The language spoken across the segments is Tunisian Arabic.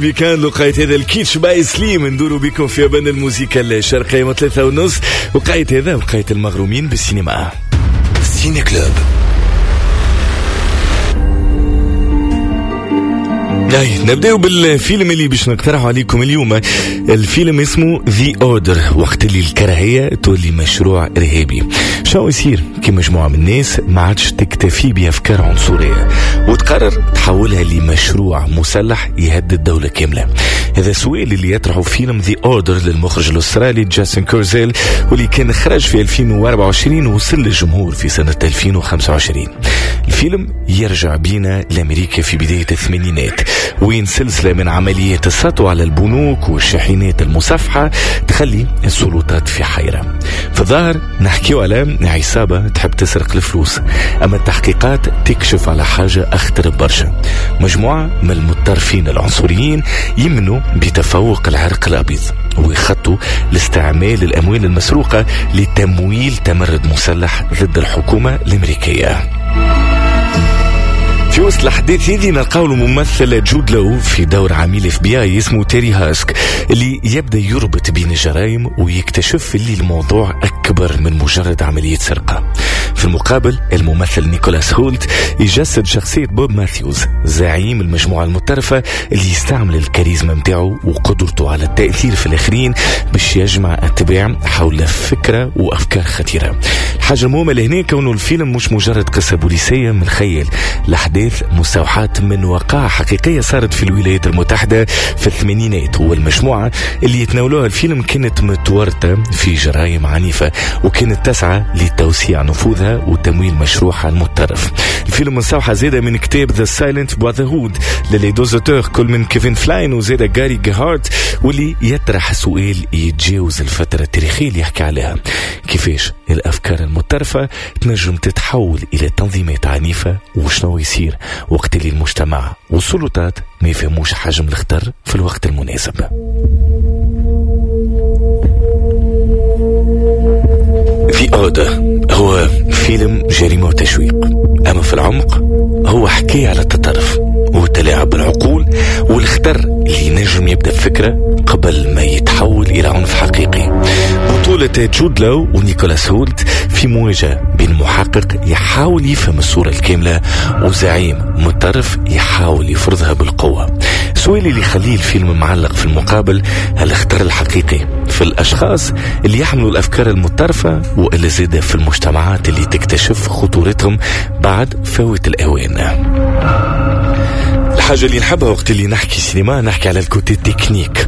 week-end وقيت هذا الكيتش باي سليم، ندوروا بكم في أبان الموسيقى الشرقية من 3:30. وقيت هذا وقيت المغرومين بالسينما. Ciné Club. نبداو بالفيلم اللي باش نقترحه عليكم اليوم. الفيلم اسمه The Order، وقت اللي الكراهية تولي مشروع إرهابي. شو يصير كي مجموعة من الناس ما عادش تكتفي بأفكار عنصرية وتقرر تحولها لمشروع مسلح يهدد دولة كاملة؟ هذا السؤال اللي يطرحه فيلم The Order للمخرج الأسترالي جاستن كورزيل، واللي كان خرج في 2024 ووصل للجمهور في سنة 2025. الفيلم يرجع بينا لأمريكا في بداية الثمانينات، وين سلسلة من عمليات السطو على البنوك والشاحنات المصفحة تخلي السلطات في حيرة. في الظاهر نحكيو على عصابة تحب تسرق الفلوس، أما التحقيقات تكشف على حاجة أخطر برشا. مجموعة من المتطرفين العنصريين يمنوا بتفوق العرق الأبيض ويخطوا لاستعمال الأموال المسروقة لتمويل تمرد مسلح ضد الحكومة الأمريكية. في وسط الأحداث هذه نلقاو الممثل جود لو في دور عميل FBI اسمه تيري هاسك، اللي يبدا يربط بين الجرائم ويكتشف اللي الموضوع أكبر من مجرد عملية سرقة. في المقابل الممثل نيكولاس هولت يجسد شخصية بوب ماثيوز، زعيم المجموعة المتطرفة اللي يستعمل الكاريزما متاعه وقدرته على التأثير في الآخرين باش يجمع أتباع حول فكرة وأفكار خطيرة. الحاجة المهمة لهنا كونه الفيلم مش مجرد قصة بوليسية من الخيال، الأحداث مستوحاة من وقائع حقيقية صارت في الولايات المتحدة في الثمانينات، والمجموعة اللي يتناولوها الفيلم كانت متورطة في جرائم عنيفة وكانت تسعى لتوسيع نفوذها وتمويل مشروعها المتطرف. الفيلم مستوحى زادة من كتاب The Silent Brotherhood ل les deux auteurs كل من كيفن فلاين وزادة جاري جهارت، واللي يطرح سؤال يتجاوز الفترة التاريخية اللي يحكي عليها: كيفاش الأفكار المتطرفة تنجم تتحول إلى تنظيمات عنيفة، وشنو يصير وقت اللي المجتمع والسلطات ما يفهموش حجم الخطر في الوقت المناسب. The Order هو فيلم جريمة وتشويق، أما في العمق هو حكاية على التطرف والتلاعب بالعقول والخطر اللي نجم يبدأ بفكرة قبل ما يتحول إلى عنف حقيقي. بطولة جود لو ونيكولاس هولت في مواجهة بين محقق يحاول يفهم الصورة الكاملة وزعيم متطرف يحاول يفرضها بالقوة. السؤال اللي يخليه الفيلم معلق في المقابل: هل الخطر الحقيقي في الأشخاص اللي يحملوا الأفكار المتطرفة وإلا زادة في المجتمعات اللي تكتشف خطورتهم بعد فوات الأوان؟ الحاجة اللي نحبها وقت اللي نحكي سينما نحكي على ال côté technique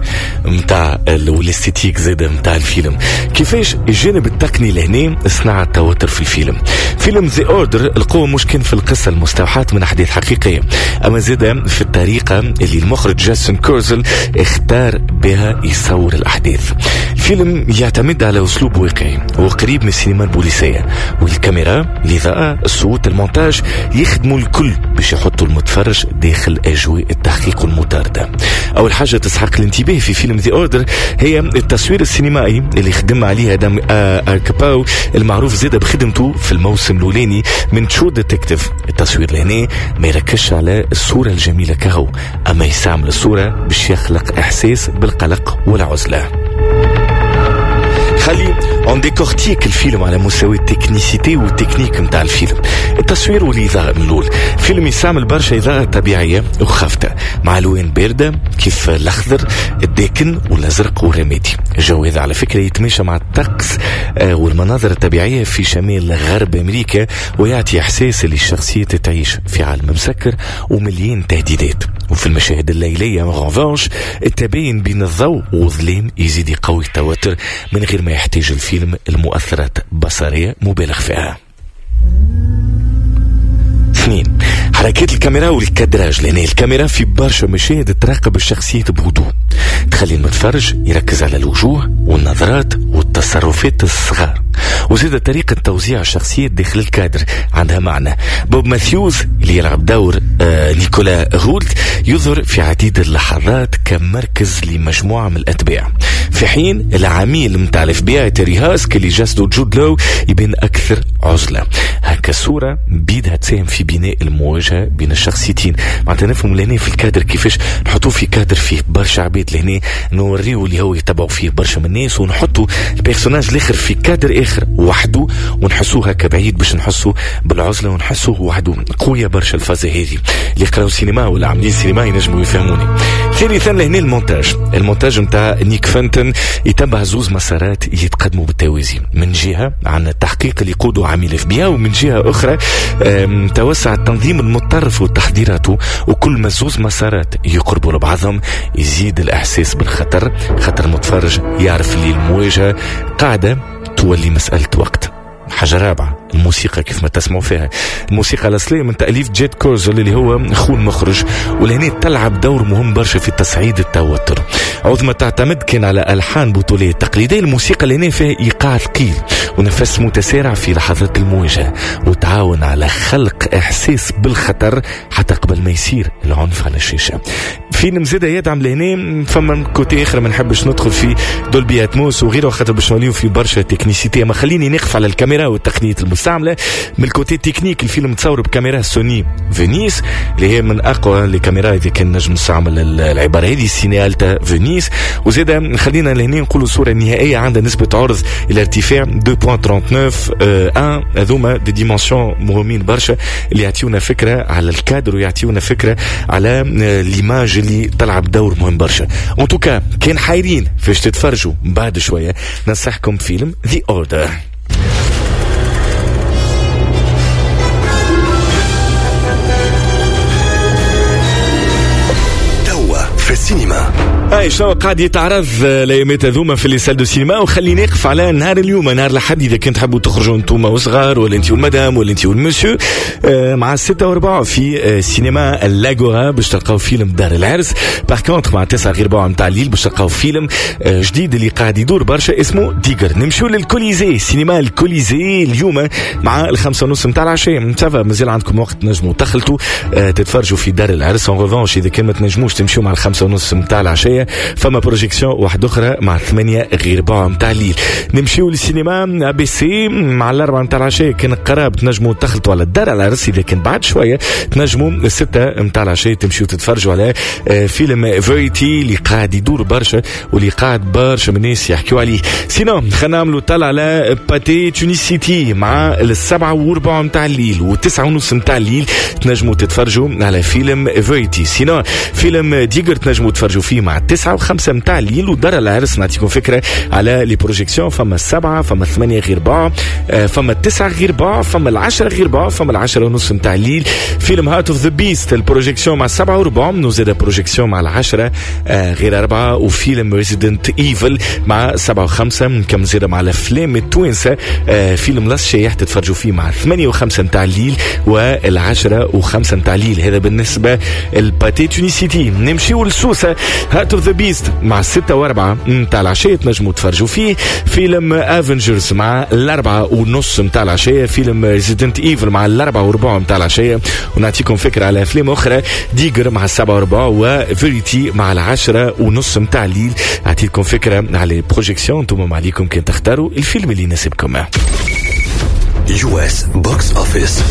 متاع وال esthétique زادة متاع الفيلم، كيفاش الجانب التقني لهنا صنع التوتر في الفيلم. فيلم The Order القوة مش كان في القصة المستوحاة من أحداث حقيقية، أما زادة في الطريقة اللي المخرج جاستن كورزل اختار بها يصور الأحداث. الفيلم يعتمد على أسلوب واقعي وقريب من السينما البوليسية، والكاميرا، الإضاءة، الصوت، المونتاج يخدموا الكل باش يحطوا المتفرج داخل أجواء التحقيق والمطاردة. أول حاجة تسحق الانتباه في فيلم The Order هي التصوير السينمائي اللي خدم عليه آدم أركباو المعروف زادة بخدمته في الموسم الأولاني من True Detective. التصوير لهنا ما يركزش على الصورة الجميلة كهو، أما يستعمل الصورة باش يخلق إحساس بالقلق والعزلة. خلي on décortique الفيلم على مستوى ال technicité وال technique نتاع الفيلم، التصوير والاضاءة. من الاول الفيلم يستعمل برشا اضاءه طبيعية وخافته مع الوان باردة كيف الاخضر الداكن والازرق والرمادي. الجو هذا على فكرة يتماشى مع الطقس والمناظر الطبيعية في شمال غرب امريكا، ويعطي احساس اللي الشخصية تعيش في عالم مسكر ومليان تهديدات. وفي المشاهد الليلية en revanche التباين بين الضوء والظلام يزيد يقوي التوتر من غير ما يحتاج الفيلم المؤثرات بصرية مبالغ فيها. 2، حركات الكاميرا وال cadrage. لأن الكاميرا في برشا مشاهد تراقب الشخصيات بهدوء، تخلي المتفرج يركز على الوجوه والنظرات والتصرفات الصغار. وزاد طريقة توزيع الشخصيات داخل الكادر عندها معنى. بوب ماثيوز اللي يلعب دور نيكولا هولت يظهر في عديد اللحظات كمركز لمجموعة من الأتباع، في حين العميل متاع ال FBI تيري هاسك اللي جسده جود لو يبان أكثر عزلة. هكا الصورة بيدها تساهم في بناء المواجهة بين الشخصيتين. معناتها نفهم لهنا في الكادر كيفاش نحطوه في كادر فيه برشا عباد، لهنا نوريو اللي هو يتبعوا فيه برشا من الناس، ونحطوا ال personnage الاخر في كادر اخر وحده ونحسوه هكا بعيد باش نحسوا بالعزله ونحسوه وحده. قوية برشا الفازة هذه، اللي قراو سينما ولا عاملين سينما ينجموا يفهموني. ثالثا لهنا المونتاج، المونتاج نتاع نيك فانتن يتبع زوز مسارات يتقدموا بالتوازي، من جهة عن التحقيق اللي يقوده عميل FBI، ومن جهة اخرى توسع التنظيم المتطرف وتحضيراته. وكل ما زوز مسارات يقربوا لبعضهم يزيد الاحساس بالخطر، خاطر المتفرج يعرف اللي المواجهة قاعدة تولي مسالة وقت. حاجة رابعة، الموسيقى كيف ما تسمعوا فيها، الموسيقى الأصلية من تأليف جيت كورزل اللي هو خو المخرج، ولهنا تلعب دور مهم برشا في تصعيد التوتر. عوض ما تعتمد كان على ألحان بطولية تقليدية، الموسيقى لهنا فيها إيقاع ثقيل ونفس متسارع في لحظات المواجهة، وتعاون على خلق إحساس بالخطر حتى قبل ما يصير العنف على الشاشة. فيلم زاد يدعم لهنا فما côté آخر ما نحبش ندخل في Dolby Atmos وغيره خاطر باش نوليو في برشا technicité، ما خليني نقف على الكاميرا والتقنية المستعملة. من ال côté technique الفيلم تصور بكاميرا Sony Venice اللي هي من أقوى les caméras إذا كان نجم نستعمل العبارة هذه، CineAlta Venice. وزاد خلينا لهنا نقولوا الصورة النهائية عندها نسبة عرض إلى ارتفاع 2.39 هذوما des dimensions مهمين برشا اللي يعطيونا فكرة على الكادر ويعطيونا فكرة على l'image اللي تلعب دور مهم برشا. en tout cas كان حايرين فاش تتفرجوا بعد شوية، ننصحكم فيلم The Order. توا في السينما. هاي شنو قاعد يتعرض الايامات هذوما في les salles de cinéma، وخليني نقف على نهار اليوم نهار الاحد اذا كنت تحبوا تخرجوا انتم وصغار ولا انت والمدام ولا انت والمسيو، مع 6:15 في سينما l'Agora باش تلقاو فيلم دار العرس. par contre مع 8:45 نتاع الليل باش تلقاو فيلم جديد اللي قاعد يدور برشا اسمه Digger. نمشيو للكوليزي، سينما الكوليزي اليوم مع 5:30 نتاع العشاء. ça va مازال عندكم وقت تنجموا تخلطوا تتفرجوا في دار العرس. en revanche اذا كان ما تنجموش تمشيو مع 5:30 نتاع العشاء فما projection واحدة أخرى مع 7:45 متاع الليل. نمشيو للسينما ABC مع 4 متاع العشاء كان قراب تنجموا تخلطوا على الدار على العرس. إذا كان بعد شوية تنجموا 6 متاع العشاء تمشيو تتفرجوا على فيلم Verity اللي قاعد يدور برشا واللي قاعد برشا من الناس يحكيو عليه. sinon خلينا نعملوا طلع على Pathé Tunis City مع 7:15 متاع الليل و9:30 متاع الليل تنجموا تتفرجوا على فيلم Verity. sinon فيلم Digger تنجموا تتفرجوا فيه مع 9:05 متاع الليل. ودار العرس نعطيكم فكرة على les projections، فما 7 فما 7:45 فما 8:45 فما 9:45 فما 10:30 متاع الليل. فيلم Heart of the Beast ال projection مع 7:15 وزاد projection مع 9:45. وفيلم Resident Evil مع 7:05. نكمل زاد مع الافلام التوانسة، فيلم لاس شيح تتفرجوا فيه مع 8:05 متاع الليل و10:05 متاع الليل. هذا بالنسبة ال Pathé Tunis City. نمشيو لسوسة، Heart of the Beast مع 6:15 متاع العشية تنجموا تفرجوا فيه. فيلم Avengers مع 4:30 متاع العشية. فيلم Resident Evil مع 4:15 متاع العشية. ونعطيكم فكرة على أفلام أخرى، Digger مع 7:15 و Verity مع 10:30 متاع الليل. أعطيكم فكرة على projections، انتم ما عليكم كان تختاروا الفيلم اللي يناسبكم. US box office.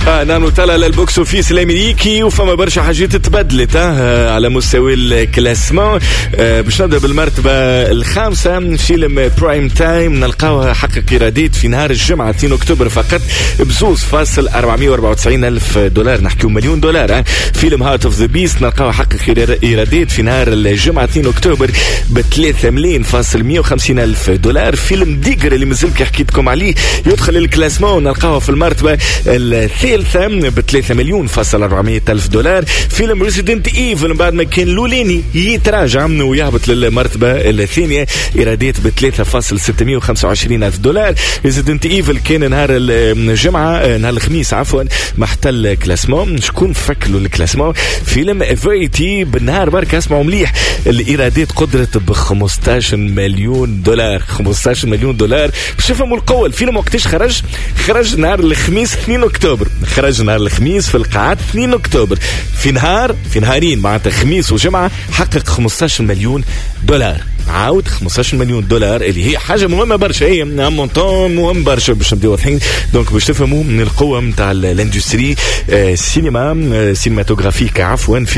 نحن طلع لل box office الامريكي وفما برشا حاجات تبدلت على مستوى ال classement. باش نبدا بالمرتبة الخامسة، فيلم Prime Time نلقاوها حقق ايرادات في نهار الجمعة 2 اكتوبر فقط ب2.494 ألف دولار، نحكيو مليون دولار. فيلم Heart of the Beast نلقاوها حقق ايرادات في نهار الجمعة 2 اكتوبر ب3.150 ألف دولار. فيلم Digger اللي مازال كي حكيتكم عليه يدخل ال classement ونلقاوها في المرتبة الثانية الثالثة ب 3 مليون فاصل 400 ألف دولار. فيلم Resident Evil بعد ما كان الأولاني يتراجع ويهبط للمرتبة الثانية، إيرادات ب 3.625 ألف دولار. Resident Evil كان نهار الجمعة، نهار الخميس عفوا، محتل classement. شكون فكلوا ال classement؟ فيلم Verity بالنهار برك، اسمعوا مليح، الإيرادات قدرت ب 15 مليون دولار، 15 مليون دولار. باش تفهموا القوة، الفيلم وقتاش خرج؟ خرج نهار الخميس 2 أكتوبر، خرج نهار الخميس في القاعات 2 أكتوبر، في نهار، في نهارين معناتها خميس وجمعة، حقق 15 مليون دولار. عاود 15 مليون دولار اللي هي حاجة مهمة برشا، هي montant مهم برشا باش نبداو واضحين. donc باش تفهموا من القوة نتاع l'industrie السينما cinématographique عفوا في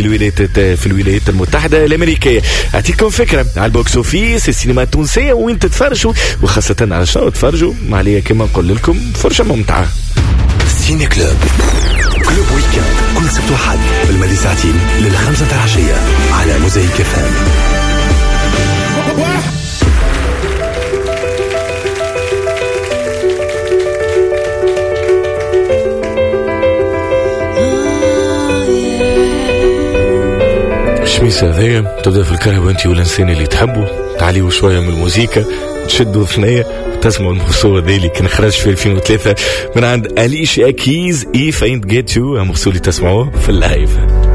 الولايات المتحدة الأمريكية. أعطيكم فكرة على ال box office السينما التونسية وين تتفرجوا، وخاصة على شنو تفرجوا. عليا كما نقول لكم فرجة ممتعة. Ciné Club، Club Week-end، كل سبت وحد بالمدي ساعتين للخمسة العشية على موزايك FM. الشميسة هذايا تبدا في الكهرباء انت والانسان اللي تحبه، تعليوا شوية من الموسيقى، تشدوا ثنية وتسمعوا ال morceau هذا اللي كان خرج في 2003 من عند Alicia Keys، If I Ain't Got You، morceau اللي تسمعوه في ال live.